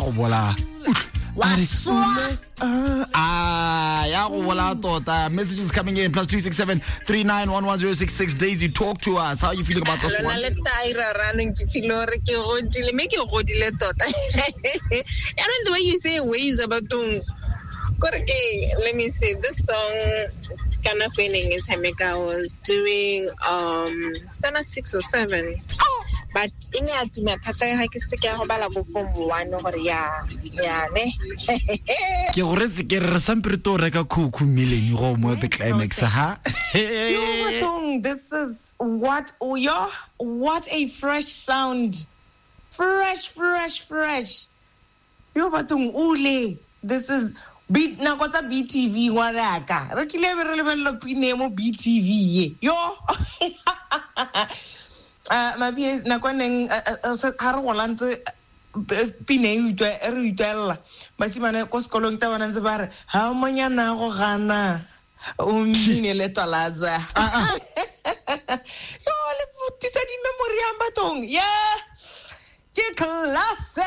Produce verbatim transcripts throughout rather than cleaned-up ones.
Ya go bola. Wa swa. Ah, ya go bola tota. Messages coming in plus two six seven three nine one one zero six six. Daisy, talk to us. How are you feeling about this one? Lona le Tyra ranong ke feel hore ke godile, mme ke godile tota. And the way you say ways about tung, kore ke, let me see, this song ka nako e neng e tshameka was doing um standard six or seven. But e ne ya tuma thata ga ke se ke ya go bala bo form one gore ya ya ne. Ke go retse ke re sampe re to reka khukhu mmileng go mo the climax ha. Yo, bathong, this is what oh yo, what a fresh sound. Fresh, fresh, fresh. Yo bathong ule. This is B nako tsa B T V ngwanaka. Re kile be re lebella pine mo B T V ye. Yo. Uh, my P S nako neng ha re gola ntse pine e utlwa re utlwella basimane ko sekolong ta bona ntse ba re ha monyana go gana o mmine le twalaza. Yo le putisa di memory ya bathong. Yeah. Ke classic.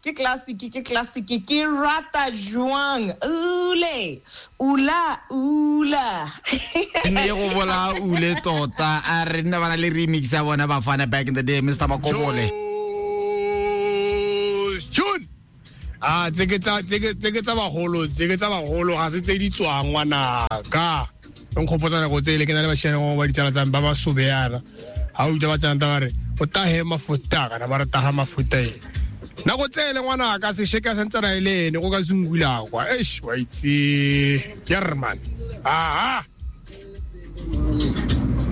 Ke classic, ke classic, ke rata jwang. Ule, ula, ula. Ne go bola ule tota. A re nna bana le remix ya bona bafana back in the day, Mister Makobole. June. Ah, tse ke tsa tse ke tse ke tsa bagolo, tse ke tsa bagolo ga se tse di tswang ngwanaka. Nkgopotsa nako tse le ke na le bashane ba ditsala tsa ba ba sobeana. Ha o utlwa ba tsana ba re o tahe mafuta kana ba re taha mafuta e. Nako tsele ngwana ka se sheka sentsana ile ene go ka zungula kwa. Eish wa itse German. Ah ah.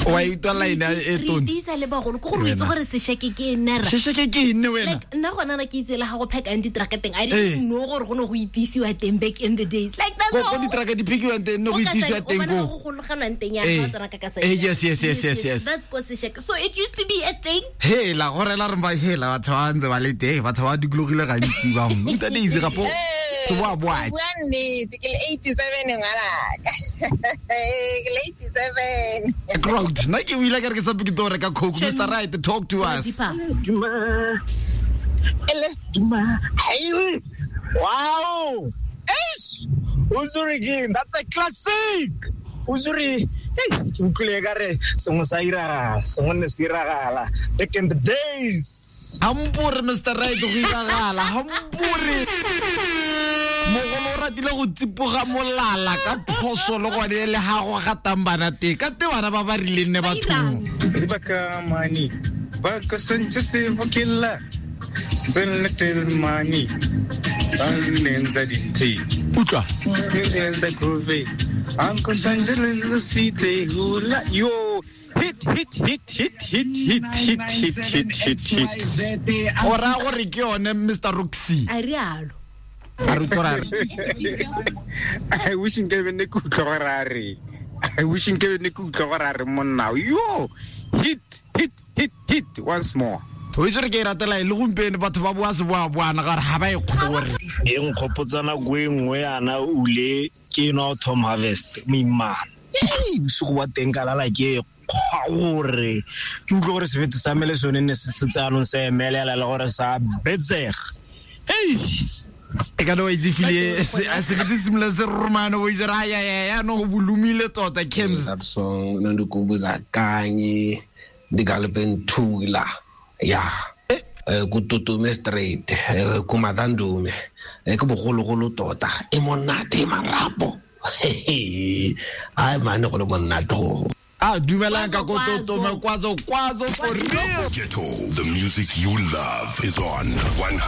Wa itwa line e tone. Re tisa le bagolo go gore o itse gore sesheke ke ene ra. Sesheke ke ene wena. Like nna gona na ke itse le ga go phekang di-truck teng. I didn't know gore go ne go itisiwa teng back in the days. Like that's all. Go di-truck di phekiwang teng no go itisiwa teng go. Go gologelwang teng ya go tsena ka ka sa. Eh yes yes yes yes yes. That's go sesheke. So it used to be a thing. Hela gore la re ba hela batho ba ntse ba le teng batho ba dikologile gantsi ba mo. Ntate itse gapo. So wa boa. Bua nnete ke le eighty-seven ngwanaka. Ke le eighty-seven. Crowd. Nna ke o ile ka re ke sa ke tlo reka Coke. Mister Right, talk to us. Duma. Ele duma. Hey. Wow. Eish. Uzuri again. That's a classic. Uzuri. Hey, ke utlwile ka re sengwe sa iragala, sengwe ne se iragala back in the days. Hampore Mister Right go iragala, hampore. Mogolo o ratile go tsipoga molala ka phoso le gone le ha go gatang bana teng ka te bana ba ba rileng ne bathong. Dibaka mani ba ka santse se fokella senletel mani ba nenda dinthe. Utlwa. The groove. Uncle Sanjay in the city hula yo hit hit hit hit hit hit hit hit hit hit hit. Ora gore ke yone Mister Roxy. A rialo. A re utlwa re. I wish nke be ne ke utlwa gore a re. I wish nke be ne ke utlwa gore a re monna yo hit hit hit hit once more. O itse re ke ratela e le gompieno batho ba boa se boa boana gore ga ba e kgore. E nkgopotsa nako e nngwe yana ule ke nwa Tom Harvest moimana. Ei bosigo ba teng ka lala ke kgwa gore ke utlwe gore sebete sa me le sone ne se setse anong se emelela le gore sa betsega. Ei e ka no itse file sebete se simolola se romano o itse ra ya ya ya no go bolumile tota Kems. That song nondikumbuza kanye ndigalpenthula. Ya eh ku Tutume straight ku Madandume e ke bogologolo tota e monate marapo. Ai man go le monate go. Ah dumelang ka ko Tutume kwazo kwazo for real. Ghetto, the music you love is on one hundred